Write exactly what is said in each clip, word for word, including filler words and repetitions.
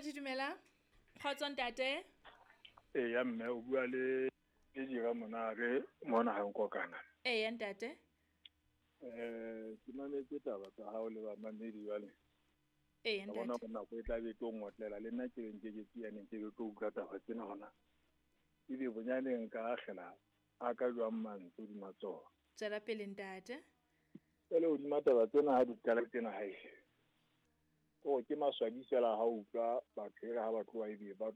Mamedi dumela. Kgotso ntate. E ya mme o bua le le dira monare mona ha nkokana. E ya ntate. Eh ke mametse taba tsa hao le ba mamedi jwale. E ya ntate. Bona bona go tla be tlo ngotlela le nna ke reng ke ke tsiane ke tlo utlwa taba tsena hona. Ebe bonyane nka akhela a ka jwang mantswe di matsoho. Tswela pele ntate. Pele o di mataba tsena ha di qala tsena hae. O ke maswabi fela ha utlwa batho ha ba tloha ebe ba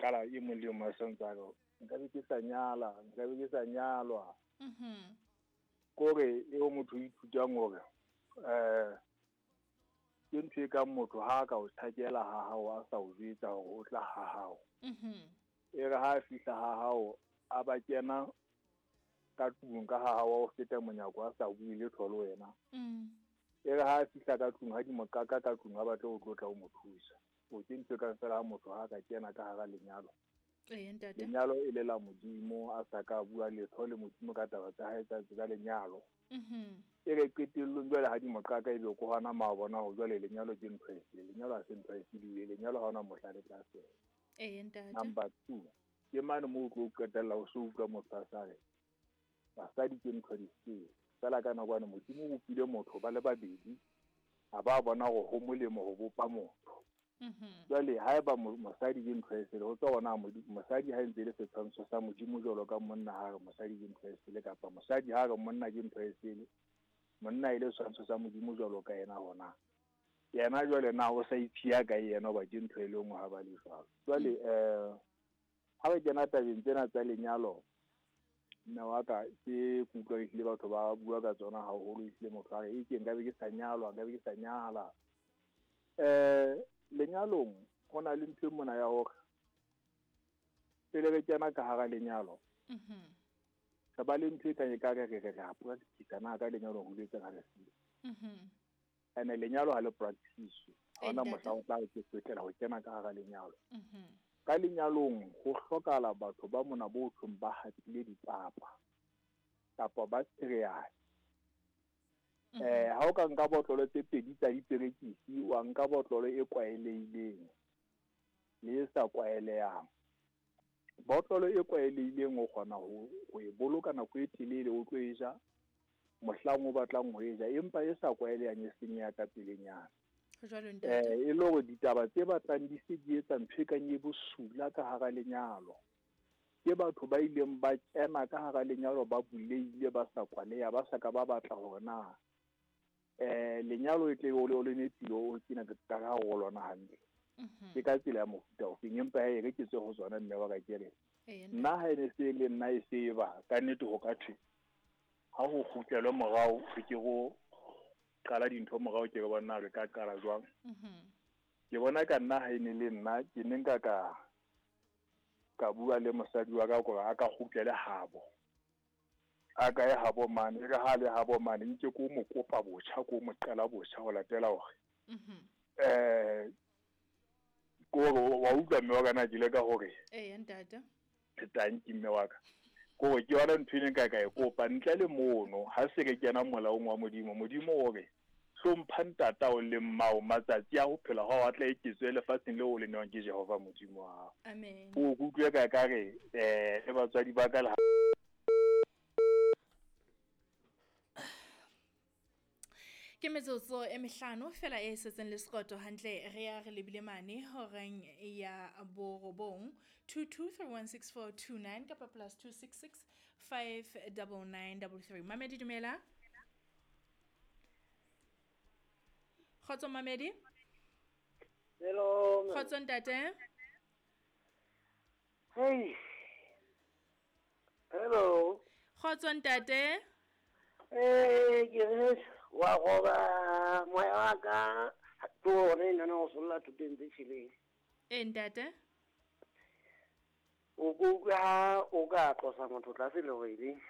qala e mong le mong a santsa re nka be ke sa nyala, nka be ke sa nyalwa. Mhm. Kore eo motho o ithutang hore eh ke ntho e kang motho ha ka o thakela ha hao a sa o jwetsa hore o tla ha hao. Mhm. E re ha fihla ha hao a ba kena ka tlung ka ha hao o feta monyako a sa bue letho le wena. Mm. E re ha fihla ka tlung ha di mokaka ka tlung ha batle o tlotla o mo thusa. O ke ntho ka fela ha motho ha ka kena ka hara lenyalo. Eh ntate. Lenyalo e le la Modimo a sa ka bua letho le Modimo ka taba tsa hae tsa tsa lenyalo. Mhm. E re qetellong jwale ha di mokaka ebe ko hona ma bona ho jwale lenyalo ke ntho e sele. Lenyalo ha se ntho e sele, lenyalo ha ona mohla le tla fela. Eh ntate. Number two. Ke mane mo o tlo qetella o so utlwa motho a sa re basadi ke ntho di sele. Fela ka nako ane Modimo o bopile motho ba le babedi a ba bona hore ho molemo ho bopa motho. Mhm. Jwale haeba mosadi ke ntho e sele ho tswa hona mosadi ha ntse le setshwantsho sa Modimo jwalo ka monna ha re mosadi ke ntho e sele kapa mosadi ha re monna ke ntho e sele monna e le setshwantsho sa Modimo jwalo ka yena hona yena jwale na o sa iphiya ka yena hoba ke ntho e le nngwe ha ba le jwalo. Jwale eh ha re kena tabeng tsena tsa lenyalo mme wa ka ke kutlwa ehlile batho ba bua ka tsona haholo ehlile motho a re e ke nka be ke sa nyalwa nka be ke sa nyala. Eh lenyalong ho na le ntho e mona ya hore pele re kena ka hara lenyalo mhm re ba le ntho e kang e ka re re re a practice na ka lenyalo ho le tsena re se mhm ene lenyalo ha le practice ha ona mohla o tla ke tswetlela ho kena ka hara lenyalo mhm ka lenyalong ho hlokahala batho ba mona bo thong ba hatile dipapa kapa ba cereal. Eh ha o ka nka botlolo tse pedi tsa diperekisi wa nka botlolo e kwaelehileng le e sa kwaelehang. Botlolo e kwaelehileng o kgona ho ho e boloka nako e telele o tlo e ja mohlang o batlang ho e ja, empa e sa kwaelehang e senyeha ka pelenyana. Jwalo ntate. Eh e le hore ditaba tse batlang di se di etsa ntho e kang e bosula ka hara lenyalo. Ke batho ba ileng ba kena ka hara lenyalo ba buleile ba sa kwaleha ba sa ka ba batla hore na eh lenyalo e tle o le o le nepile o kena ka ha ho lona hantle. Ke ka tsela ya mofuta o feng empa e re ke tswe ho tsona mme wa ka ke re nna ha ene se le nna e se ba ka nnete ho ka thwe ha ho kgutlelwe morao re ke go qala dintho morao ke re bona re ka qala jwang. Ke bona ka nna ha ene le nna ke ne nka ka ka bua le mosadi wa ka gore a ka kgutlele habo a ka e habo mane re ha le habo mane nke ko mo kopa botjha ko mo qala botjha ho latela hore mhm eh ko wa utlwa mme wa ka na ke le ka hore eh ntate tanki mme wa ka ko ke yona ntho ene ka ka e kopa ntle le mono ha se ke kena molaong wa Modimo. Modimo o re hlompha ntatao le mmao matsatsi a ho phela ha wa tla eketswe lefatsheng leo o le newang ke Jehova Modimo wa hao. Amen. O kutlwe ka ka re eh le batswadi ba ka le ke metsotso e mehlano fela e setseng le sekoto hantle re ya re lebile mane horeng ya borobong two two three one six four two nine kapa plus two six six five nine nine three three. Mamedi dumela. Kgotso Mamedi. Hello. Kgotso ntate. Hey. Hello. Kgotso ntate. Eh, ke re wa roba moya wa ka ke one nna o solla thuteng tse tjheleng. Eh ntate. O kuka o ka tlosa motho tlase le hore